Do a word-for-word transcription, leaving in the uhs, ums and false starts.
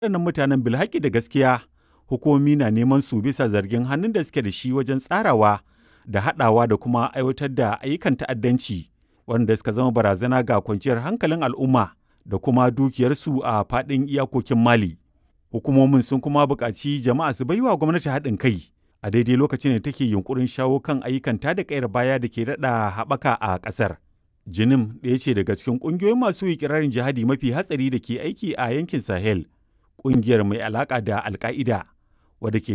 Waɗannan mutanen bilhaƙi da gaskiya hukumomi na neman su bisa zargin hannun da suke da shi wajen tsarawa da haɗawa da kuma aiwatar da ayyukan ta'addanci waɗanda suka zama barazana ga kwanciyar hankalin al'umma da kuma dukiyarsu a faɗin iyakokin Mali. Hukumomin sun kuma buƙaci jama'a su baiwa gwamnati haɗin kai a daidai lokacin da take yunƙurin shawo kan ayyukan tada ƙayar baya da ke daɗa haɓaka a ƙasar. Jinim ɗaya ce daga cikin ƙungiyoyin masu iƙirarin jihadi mafi hatsari da ke aiki a yankin Sahel, ƙungiyar mai alaƙa da Alƙa'ida wadda ke